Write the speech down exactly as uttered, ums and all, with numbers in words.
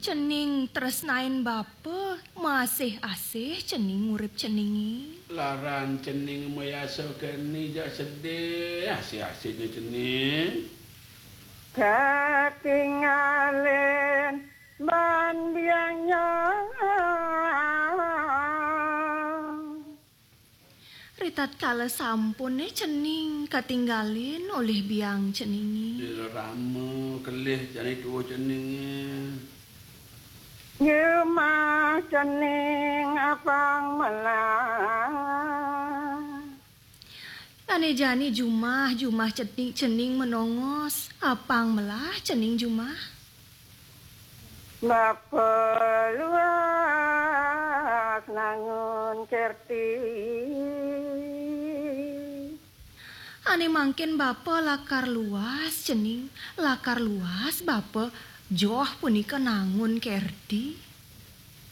Cening tresnain bapa, masih asih cening ngurip ceningé. Laran cening mayasa geni jak sedih, asih-asihnya cening. Katingalin ban biangnya. Ritatkala sampuné cening katinggalin olih biang ceningé. Rama kelih jani tua ceningé. Jumah cening apang melah. Ané jani jumah, jumah cening, cening menongos, apang melah cening jumah. Bapa luas nangun kerti. Ané mangkin bapa lakar luas cening, lakar luas bapa joh punika nangun kerti.